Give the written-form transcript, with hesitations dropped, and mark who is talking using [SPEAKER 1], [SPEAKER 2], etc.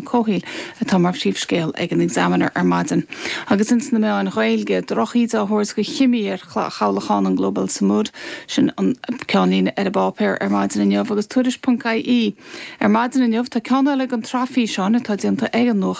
[SPEAKER 1] Comhshaoil atá mar phríomhscéal ag an Examiner ar maidin. Agus ins na meáin Ghaeilge, drochíde á thabhairt do chimí ar chabhlachán an Global Sumud, sin an ceannlíne ar an bpáipéar ar maidin inniu, agus Tuairisc.ie ar maidin inniu, tá ceann eile den tsraith físeáin atá déanta ag an nuachtán.